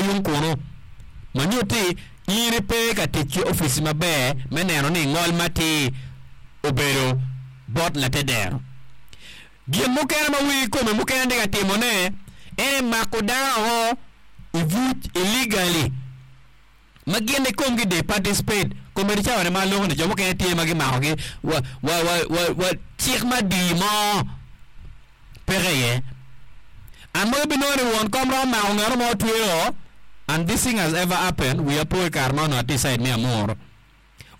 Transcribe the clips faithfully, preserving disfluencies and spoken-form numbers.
yung kunu ma nyutti in ipe ka tic ki opici maber me neno ni ngol matir obedo bot latedero. Gin mukene ma wigi kome mukene tye ka timone en mako dano i buc illegally ma gin i komgi they participate komedi cawa ni ma aloko ni jo mukene tye ma gimakogi wa wa wa wa wa cik madii mo peke iye an ma ibinongo ni won kom romo mako ngano mo tweyo and this thing has ever happened wiya po i kare ma onongo atye i side me Amuru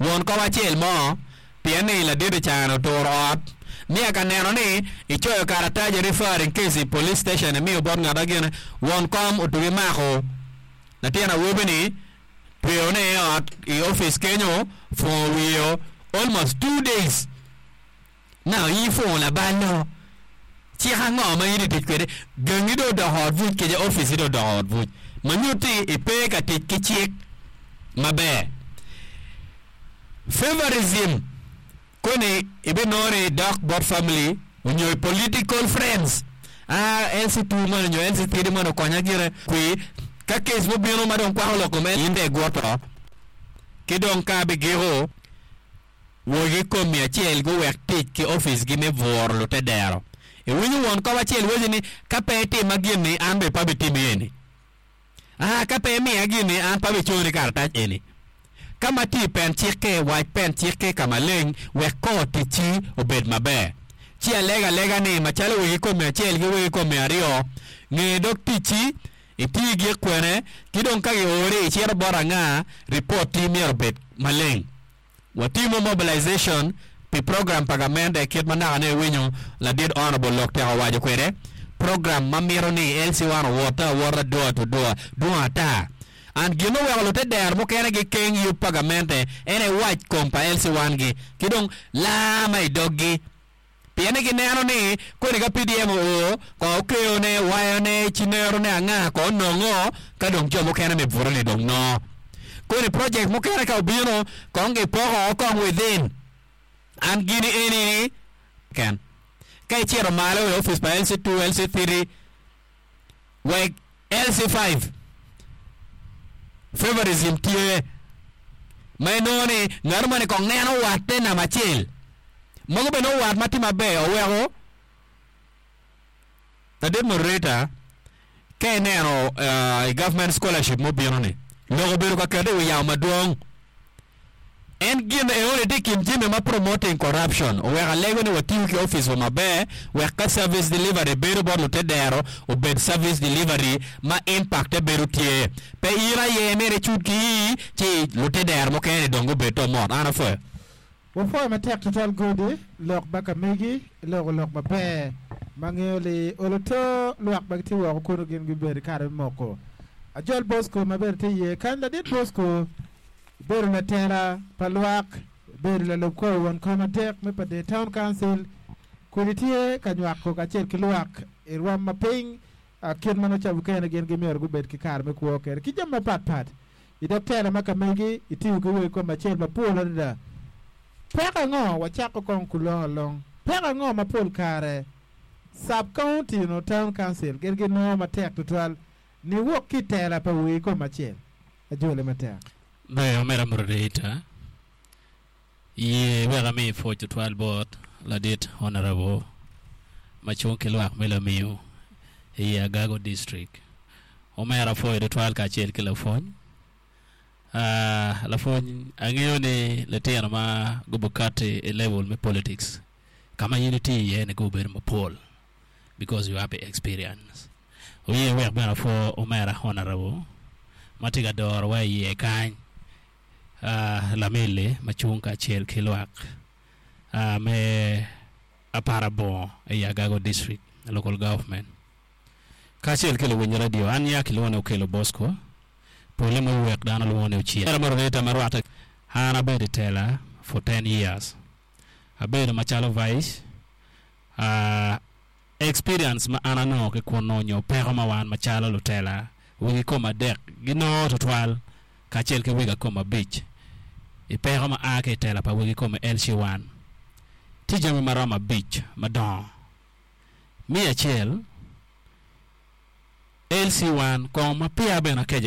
won kom acel mo pien ni ladit icane oturo ot nia ka neno ni icoyo karatac referring case i police station imiyo bot ngat agene won kom otugi mako latin awobi-ni tweyone i ot i opic kenyo fungo wiye almost two days now in ifungo labal no cik ango ma in itic kwede gangi dong odoko ot buc kece opici dong odoko ot buc ma nyutti ipe ka tic ki cik maber favorism koni ibinongo ni dok bot family onyo i political friends ah L C two man onyo L C three man okonya gire kwi ka case mobino ma dong kwako lok kome in dong iguto ki dong ka bigiko wogi komi acel guwek tic ki oficgi me buro lutedero iwinyo won kom acel waci ni ka pe itima gin-ni an bene pe abitimi eni ah ka pe imiya gin-ni an pe abiconi karatac eni ka ma tye i pen cikke wac pen cikke ka maleng wek kor ticci obed maber ci alega alega ni macalo wegi komi acel ki wegi komi aryo nge dog ticci iti gik kwene ki dong ka giori icito bot anga ripot-ti myero obed maleng watimo mobilization pi program pa gamente kit ma naka ne iwinyo ladit honorable lok tek owaco kwede program ma mito ni L C one owota awota door to door dwong ata an gin oweko lutedero mukene gikeng yub pa gamente en ewac kom pa L C one gi ki dong laa ma i doggi pien ni gineno ni koni ka P D M oo ko okeyone wayone cinerone anga ko onongo ka dong jo mukene me buto ni dong nongo koni project mukene ka obino kong gipoko kong within an gini eni ken ka icito malo i opic pa L C two L C three wek L C five favorism tye ma inongo ni ngat moni kong neno watte namba acel mogo bene wat ma tye maber oweko ladit moderator ka ineno uh, i government scholarship mobino ni lok obedo ka kete i wi yamo madwong en gin eoni tye i kin jami ma promoting corruption oweko alego ni watiyo ki opic wa maber wek ka service delivery bedo bot lutedero obed service delivery ma impact bedo tye pe in aye myero icud ki ii ci lutedero mukene dong gubed to mot an apwoyo. Wapwoyo matek tutwal godi lok ma ka megi iloko lok maber ma ngeo li olo to lwak ma gitye woko kunu gin gibedo i kare me moko ajol Bosco ma bene tye iye kany ladit Bosco ibedo latela pa lwak ibedo lalub kor won kom adek me Pader Town Council kun itye ka nywako kacel ki lwak i rwom ma piny ah, kit ma nongo mukene gin gimyero gubed ki kare me kwo kede ki jami mapatpat i dog tela ma ka megi itiyo ki wegi kom acel mapol adada peko ango wacako kong kulong along peko ango ma pol kare sub county no town council gin ginongo matek tutwal ni wok ki i tela pa wegi kom acel ajole matek. Ber omera moderator ye wek ami pwoc tutwal bot ladit honorable ma cung ki lwak me lamiu i Agago District omera apwoyo tutwal kacel ki lapwony uh, lapwony angeyo ni litino ma gubukati i level me politics kama in itye iye ni gubedo mapol because you have experience oye wek bene apwo omera honorable ma tye ka dorowa iye kany uh, lamili ma cung kacel ki lwak uh, me Aparabongo i Agago District local government kacel ki luwiny radio an nya kilwongo ni Okelo Bosco pole mo wek dano lwongo ni Ocien Era moderator ma rwatte an abedo i tela for ten years abedo macalo vice uh, experience ma an anongo ki kunu nyo peko ma wan macalo lutela wegi kom adek ginongo tutwal kacel ki wegi kom abic i peko ma a ki i tela pa wegi kom L C one tye jami maromo abic madongo mi acel L C one kong ma peya bene akeco